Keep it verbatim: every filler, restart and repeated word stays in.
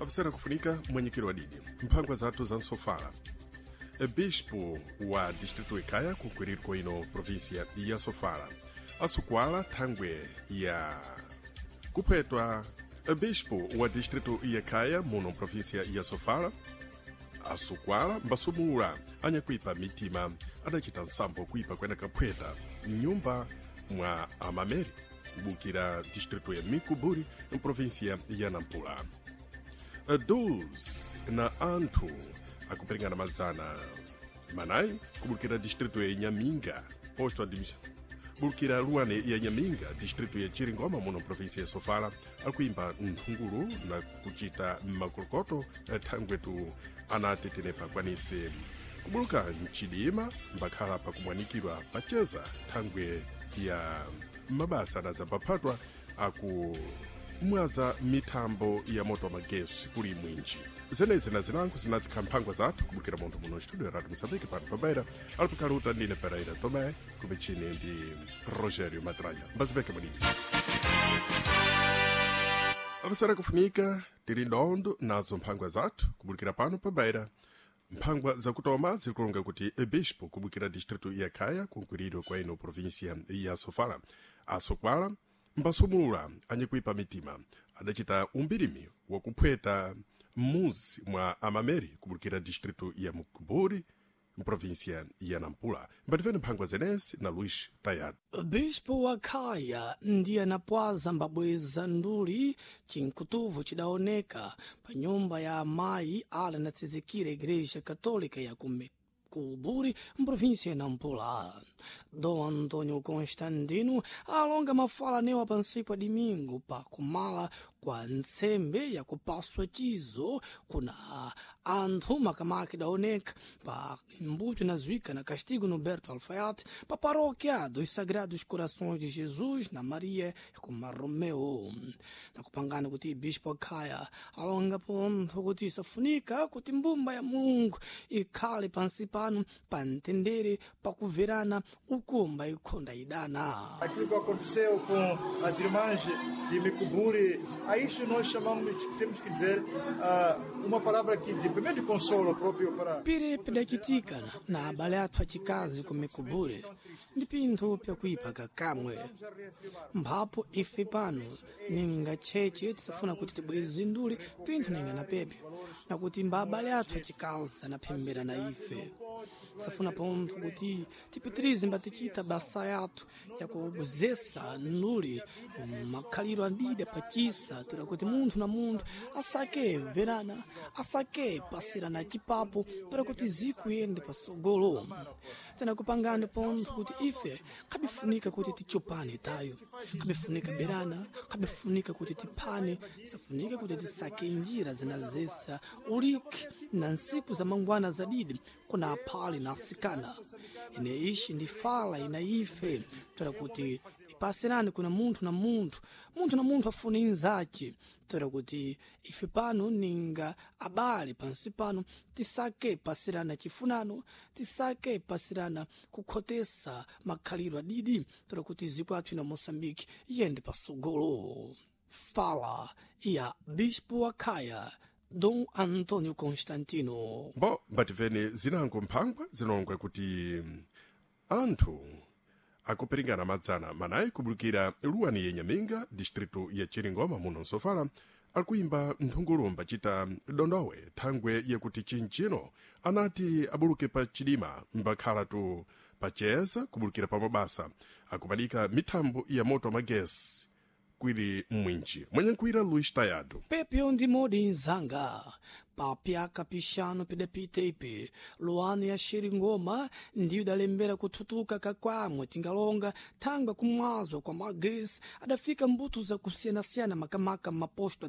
Afisera kufunika mwenyekeri wa didi mphangwa zathu za nsofala. Bispo wa distrito Ikaya, kunkwiriko ino província ya Sofala, asukwala thangwe ya kuphetwa. Bispo wa distrito ya Kaya muno província ya Sofala asukwala mbasumula anyakuipa mitima adacita nsambo kuipa kwena kaphweta mnyumba mwa amameri kubukira distrito ya Mikuburi, mprovíncia ya Nampula. doze na anthu akuperingana mazana manayi kubukira distrito ya Inhaminga, posto administrativo bulukira luane ya Nyaminga, distrito ya Chiringoma muno província ya Sofala, akuimba nthungulu na kucita makolokoto thangwetu anatetenepa kwanise kubuluka mchidima mbakhala pakumwanikidwa pacheza thangwe ya mabasa anadzambaphatwa aku mwaza mithambo ya moto wa magesi kuli mwinji. Zenezi na zinango zinadzikhala mphangwa zathu kubukira munthu muno studio ya Radio Moçambique pano pabaira alipokhaluta ndine Pereira Tomé, kumichini ndi Rogério Matranya. Mbaziveke mwadidi avisera kufunika tili ndondo nazo mphangwa zathu kubukira pano pabaira. Mphangwa zakutoma zirikulonga kuti ebispo kubukira distrito ya Khaya, kunkwiriro kwa ino província ya Sofala, asokwala mbasumula anyakuipa mitima adacita umbirimi wakuphweta m'muzi mwa amameri kubulukira distrito ya Mukuburi, mprovíncia ya Nampula. Mbativeni mphangwa zenezi na Luís Tayado. Bispo wa Khaya ndiye anapwaza mbabweza nduli chinkutuvu chidaoneka pa nyumba ya amayi ala anatsizikira Igreja Católica ya kume Kuburi, mprovíncia ya Nampula. Dom Antônio Constantino alonga mafala newa pansiku ya domingo pa kumala kwa ntsembe ya kupaswa chizo kuna anthu makamaka idaoneka pa mbuto inazuika na Castigo Noberto Alfaiate pa paróquia dos Sagrados Corações de Jesus na Maria kuma Romeu. Nakupangana kuti Bispo Khaya alonga pontho kuti isafunika kuti mbumba ya Mulungu ikhale pansi pano pa mtendere pakuverana ukumba ikhonda idana. Aquilo que aconteceu com as irmãs de Micuburi, a isso nós chamamos, temos que dizer, uh, uma palavra que de primeiro de consolo próprio para Pire pidachitika na abale athu achikazi ku Mikuburi ndi pinthu pyakuipa kakamwe. Mphapo ife pano ninga tcheche tisafuna kuti tibweze nduli pinthu ninga na pepe nakuti mba abale athu achikazi anaphembera na ife. Tisafuna pontho kuti tipitirize mbatichita basa yathu yakubuzesa nduli makhaliro adida pachisa toda kuti munthu na munthu asake verana, asake pasirana chipapo toda kuti ziku yende pasogolo. Tinakupangani pontho kuti ife khabifunika kuti tichopane tayo, khabifunika berana, khabifunika kuti tiphane, safunika kuti tisake njira zinazesa uliki na nsiku za mangwana zadidi kuna aphale na asikana. Ine ishi ndi fala ina ife toda kuti ipasirane kuna munthu na munthu, munthu na munthu afune inzace toda kuti ife pano ninga abale pansi pano tisake pasirana chifunano, tisake pasirana kukhotesa makhaliro adidi toda kuti ziko athu ina Moçambique iyende pasogolo. Fala ya Bispo wa Khaya Dom Antônio Constantino. Mbo mbativeni zinango mphangwa zinongwe kuti anthu akuperingana madzana manayi kubulukira luwani ya Nyaminga, distrito ya Chiringoma muno Nsofala, akuimba nthungulu mbacita dondowe thangwe yakuti chinchino anati abuluke pa chidima mbakhala tu pacheza kubulukira pa mabasa akumanika mithambo ya moto wa magesi kwili mwinji. Mwenyankhwira Luís Tayado. Pepio ndi modi nzanga papyaka pixanu pidapita ipi luano ya Xiringoma ndiyo idalembera kuthutuka kakwamwe tingalonga thangwe kumwazwa kwa magesi adafika mbuto zakusiyanasiyana makamaka maposto